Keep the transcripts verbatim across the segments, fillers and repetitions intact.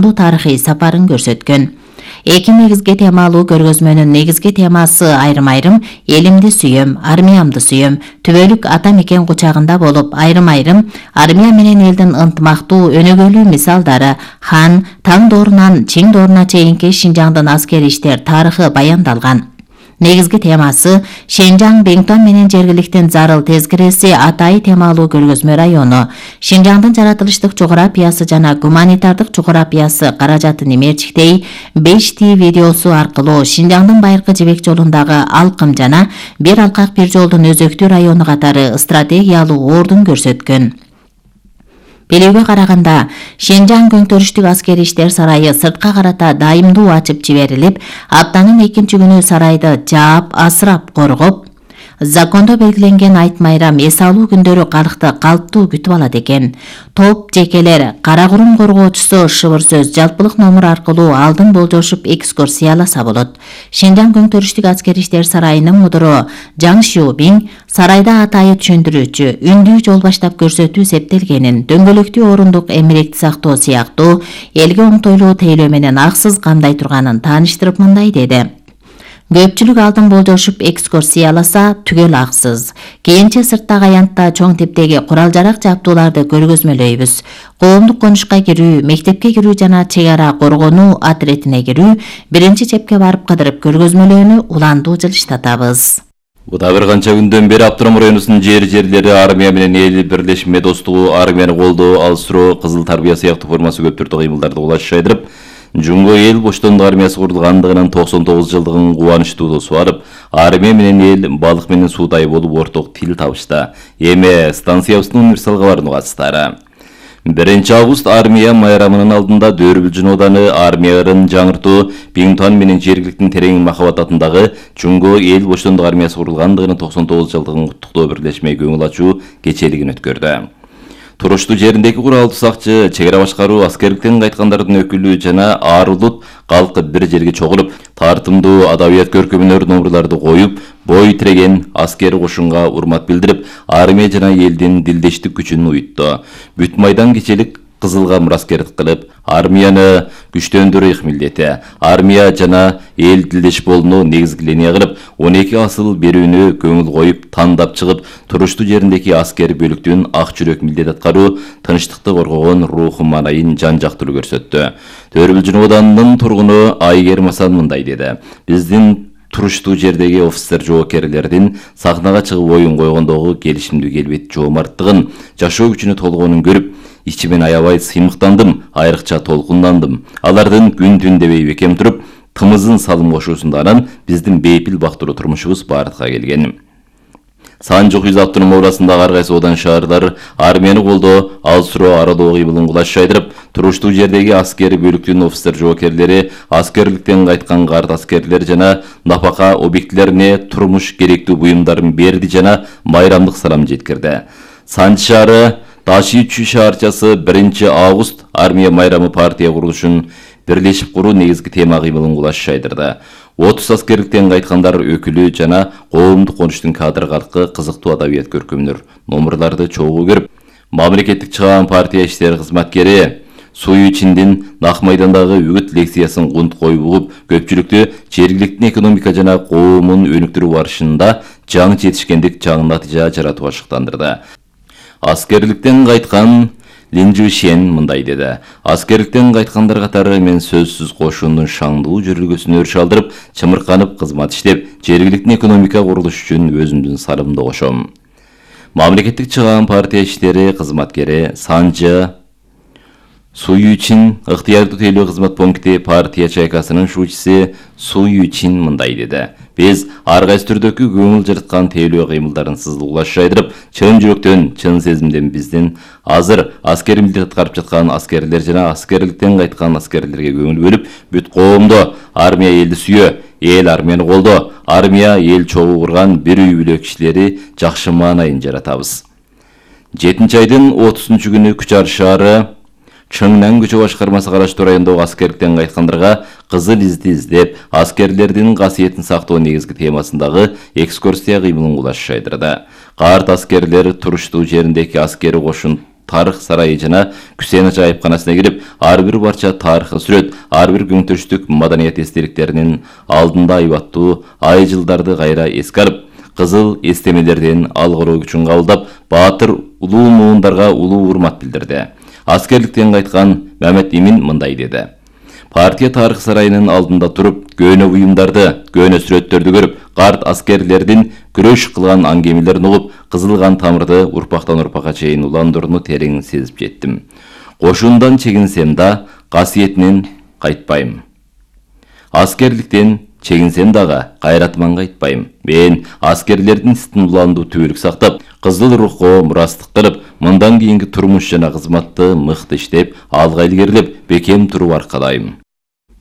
тарыхый сапарын көрсөткөн. Эки негизги темалуу көргөзмөнүн негизги темасы айрым-айрым элимди сүйөм, армиямды сүйөм, түбөлүк ата мекен кучагында болуп, айрым-айрым армия менен элдин ынтымактуу өнөгөлүү мисалдары, хан, таң доорунан чиң дооруна чейинки Шинжаңдын аскери иштер тарыхы баяндалган. Негизги темасы Шенжаң Беңтон менен жергиликтин зарыл тезкиреси Атай темалуу көргөзмө району, Шинжаңдын жаратылыштык жографиясы жана гуманитардык жографиясы каражатын эмерчиктей беш ти видеосу аркылуу Шинжаңдын байыркы жибек жолундагы алкым жана бир алкак бир жолдун өзөктүү району катары стратегиялуу ордун көрсөткөн. Белүүгө караганда, Шенжаң көңтөрүштүк аскери иштер сарайы сыртка карата дайымдуу ачып жиберилип, аптанын экинчи күнү сарайды жаап, асырап, коргоп, закондо белгиленген айт майрам эс алуу күндөрү калкты калптуу күтүп алат экен. Топ жекелер кара курум коргоочусу шыбыр сөз жалпылык номер аркылуу алдын болжошуп экскурсияласа болот. Шенжаң көңтөрүштүк аскери иштер сарайынын мудуру Жаң Шиубиң сарайда Атайы түшүндүрүүчү, үндүү жол баштап көрсөтүү септелгенин, дөңгөлөктүү орундук эмеректи сактоо сыяктуу элге оңтойлуу тейлөө менен аксыз камдай турганын тааныштырып мындай деди. Көпчүлүк алдын болжошуп экскурсияласа түгөл аксыз. Кийинче сырттагы аянтта чоң типтеги курал-жарак жаптууларды көргөзмөлөйбүз. Коомдук конушка кирүү, мектепке кирүү жана чек ара коргонуу отретине кирүү, биринчи чепке барып кыдырып көргөзмөлөөнү уландуу жылыштатабыз. Буда бир канча күндөн бери Аптырам районунун жер-жерлери армия менен эл бирлешме достугу, армияны колдоо, алыстыруу, кызыл тарбия сыяктуу формасы көп түрдүү кыймылдарды кулаш жайдырып, Жумго эл боштондук армиясы курулгандыгынын токсон тогуз жылдыгын кубанычтуу суарып, армия менен эл балык менен суудай болуп орток тил табышты. Эми станциябыздын универсал кабарын угасыздар. биринчи август армия майрамынын алдында Дөрбүлжүн ооданы армия ырын жаңыртуу, Беңтон менен жергиликтин терең махабат атындагы Жумго эл боштондук армиясы курулгандыгынын токсон тогуз жылдыгын куттуктоо бирлешме көңүл ачуу кечелигин өткөрдү. Туруштуу жериндеги куралдуу сакчы, чек ара башкаруу, аскерликтен кайткандардын өкүлү жана ар улут калкы бир жерге чогулуп, тартымдуу адабият көркөмөнөр номерларды коюп, бой тиреген аскер кошунга урмат билдирип, армия жана элдин дилдештик күчүн уютту. Бүт майдан кечелик кызылга мураскердик кылып, армияны күчтөндүрүү их милдети, армия жана эл дилдеш болууну негизги линия кылып, он эки асыл берүүнү көңүл коюп, тандап чыгып, туруштуу жериндеги аскер бөлүктүн ак жүрөк милдет аткаруу, тынчтыкты коргогон руху маанайын жан жактуу көрсөттү. Дөрбүлжүн оодунун тургуну Айгер Масан мындай деди. Биздин туруштуу жердеги офицер жоокерлердин сахнага чыгып оюн койгондогу келишимдүү келбет жоомарттыгын, жашоо күчүнө толгонун көрүп, ичимен аябай сыймыктандым, айрыкча толкундандым. Алардын күн түн дебей бекем туруп, тымызын салым кошуусунда анан биздин бейпил бактыруу турмушубуз бардыкка келген. Санжык Юз автоном оорасындагы ар кайсы одан шаарлар армияны колдоо, алыстыруу, аралоо кыймылын кулаш жайдырып, туруштуу жердеги аскери бөлүктүн офицер жоокерлери, аскерликтен кайткан карт аскерлер жана напака объектилерине турмуш керектүү буюмдарын берди жана майрамдык салам жеткирди. Санжы шаары Ташиючу шаарчасы биринчи август армия майрамы партия курулушун бирлешип куруу негизги тема кыймылын кулаш жайдырды. отуз аскерликтен кайткандар өкүлү жана коомдук конуштун кадыр калкы кызыктуу адабият көркөмдөр номерларды чогуу көрүп, мамлекеттик чыгаан партия иштери кызматкери Суюичиндин Нак майдандагы үгүт лекциясын кунт коюп угуп, көпчүлүктү жергиликтин экономика жана коомун өнүктүрүү барышында жаңы жетишкендик жаңы натыйжа жаратууга шыктандырды. Аскерликтен кайткан Лин Жушен мындай деди. Аскерликтен кайткандар катары мен сөзсүз кошуундун шаңдуу жүрүлгөсүнө өрүш алдырып, чымырканып кызмат иштеп, жергиликтин экономика курулуш үчүн өзүмдүн салымды кошом. Мамлекеттик чыгаан партия иштери кызматкери Санжы Суюичин ыктыярдуу тейлөө кызмат пункти партия чайкасынын шуучусу Суюичин мындай деди. Биз ар кайсы түрдөгү көңүл жараткан тейлөө кыймылдарын сызылуулаш жайдырып, чын жүрөктөн, чын сезимден биздин азыр аскери милдет аткарып жаткан аскерлер жана аскерликтен кайткан аскерлерге көңүл бөлүп, бүт коомдо армия элди сүйө, эл армияны колдоо, армия эл чогуу курган бир үй бүлө кишилери жакшы маанайын жаратабыз. жетинчи айдын отузунчу күнү Күчар шаары Чыңнан көчө башкармасы караштуу райондогу аскерликтен кайткандарга кызыл изди издеп, аскерлердин касиетин сактоо негизги темасындагы экскурсия кыймылын кулаш жайдырды. Карт аскерлер туруштуу жериндеги аскери кошун тарых сарайы жана Күсен Ача айыпканасына кирип, ар бир барча тарыхый сүрөт, ар бир көңтүрүштүк маданият эстеликтеринин алдында айбаттуу ай жылдарды кайра эске алып, кызыл эстемелерден алгыруу күчүн кабылдап, баатыр улуу муундарга улуу урмат билдирди. Аскерликтен кайткан Мамет Имин мындай деди: Партия тарых сарайынын алдында туруп, көөнө буюмдарды, көөнө сүрөттөрдү көрүп, карт аскерлердин күрөш кылган аңгемелерин угуп, кызылган тамырды урпактан урпакка чейин уландырууну терең сезип жеттим. Кошундан чегинсем да, касиетинен кайтпайм. Аскерликтен чегинсем дагы, кайратыман кайтпайм. Мен аскерлердин ситин уландуу түбөлүк сактап, кызыл рухко мурастык кылып, мындан кийинки турмуш жана кызматты мыкты иштеп, алга илгерилеп, бекем туруп аркадайм.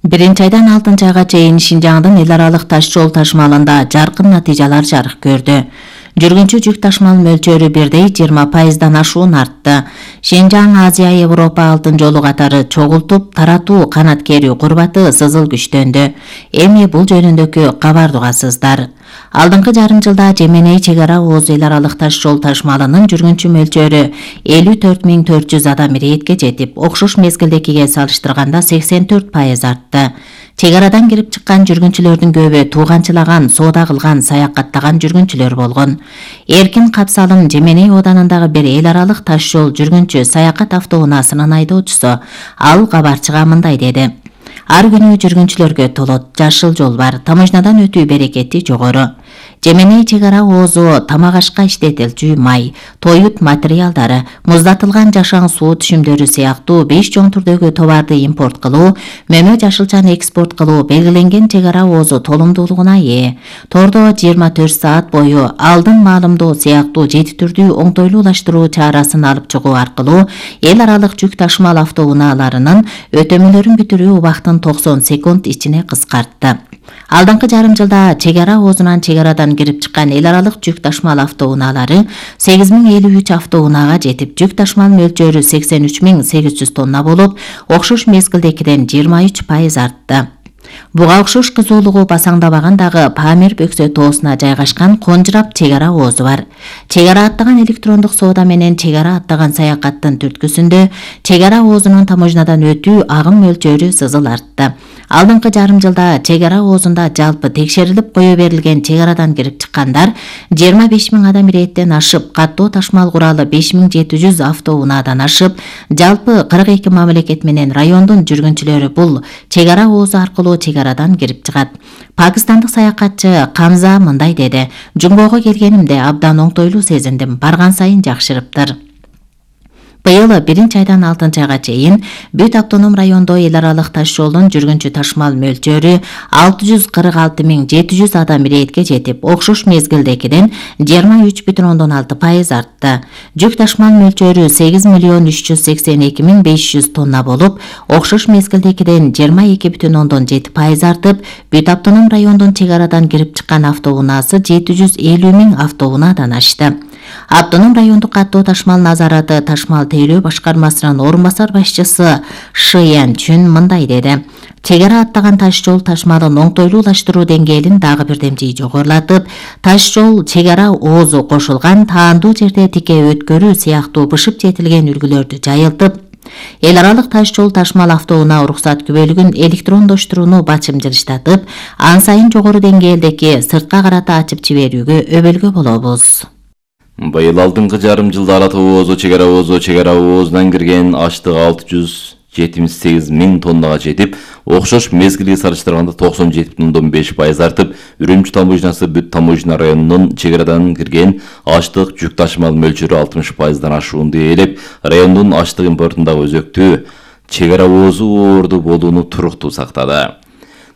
Биринчи айдан алтынчы айга чейин Шинжаңдын эл аралык таш жол ташмалында жаркын натыйжалар жарык көрдү. Жүргүнчү жүк ташмал мөлчөрү бирдей жыйырма пайыздан ашуун артты. Шинжаң Азия Европа алтын жолу катары чогултуп, таратуу канат керүү курбаты сызыл күчтөндү. Эми бул жөнүндөгү кабарды угасыздар. Алдыңкы жарым жылда Жеменей чек ара Оз эл аралык таш жол ташмалынын жүргүнчү мөлчөрү элүү төрт миң төрт жүз адам иретке жетип, окшош мезгилдекиге салыштырганда сексен төрт пайыз артты. Чек арадан кирип чыккан жүргүнчүлөрдүн көбү тууганчылаган, соода кылган, саякаттаган жүргүнчүлөр болгон. Эркин Капсалым Жеменей оданындагы бир эл аралык таш жол жүргүнчү саякат автоунаасынын айдоочусу. Ал кабарчыга мындай деди: Ар күнү жүргүнчүлөргө толот, жашыл жол бар, таможнядан өтүү берекети жогору. Жеменей чек ара Оозу тамак ашка иштетилчү май, тоют материалдары, муздатылган жашаң суу түшүмдөрү сыяктуу беш чоң түрдөгү товарды импорт кылуу, мөмө жашылчаны экспорт кылуу белгиленген чек ара Оозу толумдуулугуна ээ. Тордо жыйырма төрт саат бою алдын маалымдоо сыяктуу жети түрдүү оңтойлуулаштыруу чарасын алып чыгуу аркылуу эл аралык жүк ташмал автоунааларынын өтөмөлөрүн бүтүрүү убактын токсон секунд ичине кыскартты. Алдыңкы жарым жылда чек ара Оозунан чек арадан кирип чыккан эл аралык жүк ташмал автоунаалары сегиз миң элүү үч автоунаага жетип, жүк ташмал мөлчөрү сексен үч миң сегиз жүз тонна болуп, окшош мезгилдекиден жыйырма үч пайыз артты. Буга окшош кызуулугу басаңдабаган дагы Памир Бөксө тоосуна жайгашкан Конжурап чек ара Оозу бар. Чек ара аттаган электрондук соода менен чек ара аттаган саякаттын түрткүсүндө чек ара Оозунун таможнядан өтүү агым мөлчөрү сызыл артты. Алдыңкы жарым жылда чек ара Оозунда жалпы текшерилип кое берилген чек арадан кирип чыккандар жыйырма беш миң адам иреттен ашып, каттоо ташмал куралы беш миң жети жүз автоунаадан ашып, жалпы кырк эки мамлекет менен райондун жүргүнчүлөрү бул чек ара Оозу аркылуу чек арадан кирип чыгат. Пакистандык саякатчы Камза мындай деди: Жунгого келгенимде абдан оңтойлуу сезиндим, барган сайын жакшырыптыр. Быйыл биринчи айдан алтынчы айга чейин бүт автоном райондо эл аралык таш жолдун жүргүнчү ташмал мөлчөрү алты жүз кырк алты миң жети жүз адам иретке жетип, окшош мезгилдекиден жыйырма үч бүтүн ондон алты пайыз артты. Жүк ташмал мөлчөрү сегиз миллион үч жүз сексен эки миң беш жүз тонна болуп, окшош мезгилдекиден жыйырма эки бүтүн ондон жети пайыз артып, бүт автоном райондун чек арадан кирип чыккан автоунаасы жети жүз элүү миң автоунаадан ашты. Автоном райондук каттоо ташмал назараты ташмал тейлөө башкармасынын орун басар башчысы Шиян Чүн мындай деди: Чек ара аттаган таш жол ташмалын оңтойлуулаштыруу деңгээлин дагы бирдемчи жогорулатып, таш жол чек ара Оозу кошулган таандуу жерде тике өткөрүү сыяктуу бышып жетилген үлгүлөрдү жайылтып, эл аралык таш жол ташмал автоунаа уруксат күбөлүгүн электрондоштурууну бачымжырыштатып, ан сайын жогору деңгээлдеки сыртка карата ачып жиберүүгө өбөлгө болобуз. Быйыл алдыңкы жарым жылда Ала Тоо Оозу чек ара Оозу чек ара Оозунан кирген аштык алты жүз жетимиш сегиз миң тоннага жетип, окшош мезгилге салыштырганда токсон жети бүтүн ондон беш пайыз артып, Үрүмчү таможнясы бүт таможня районунун чек арадан кирген аштык жүк ташмал мөлчөрү алтымыш пайыздан ашуунду ээлеп, райондун аштык импортундагы өзөктүү чек ара Оозу орду болууну туруктуу сактады.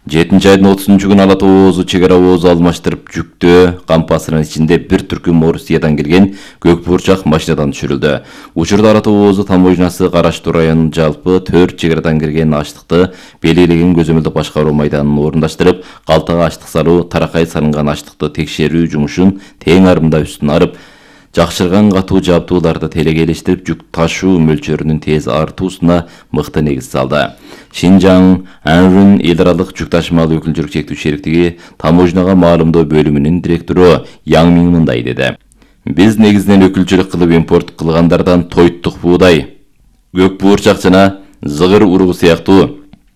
жетинчи айдын отузунчу күнү Ала Тоо Оозу чек ара Оозу алмаштырып, жүктө кампасынын ичинде бир түркүм Орусиядан келген көк бурчак машинадан түшүрүлдү. Учурда Ала Тоо Оозу таможнясы Караштуу районунун жалпы төрт чек арадан кирген аштыкты белгилеген көзөмөлдүк башкаруу майданын орундаштырып, калтага аштык салуу, таракай салынган аштыкты текшерүү жумушун тең арымда үстүн арып, жакшырган катуу жабдууларды телегелештирип, жүк ташуу мөлчөрүнүн тез артуусуна мыкты негиз салды. Шинжаң Анрун эл аралык жүк ташмал өкүлчүлүк чектүү шериктиги таможняга маалымдоо бөлүмүнүн директору Яң Миң мындай деди: Биз негизинен өкүлчүлүк кылып импорт кылгандардан той оюттук буудай, көк буурчак жана зыгыр уругу сыяктуу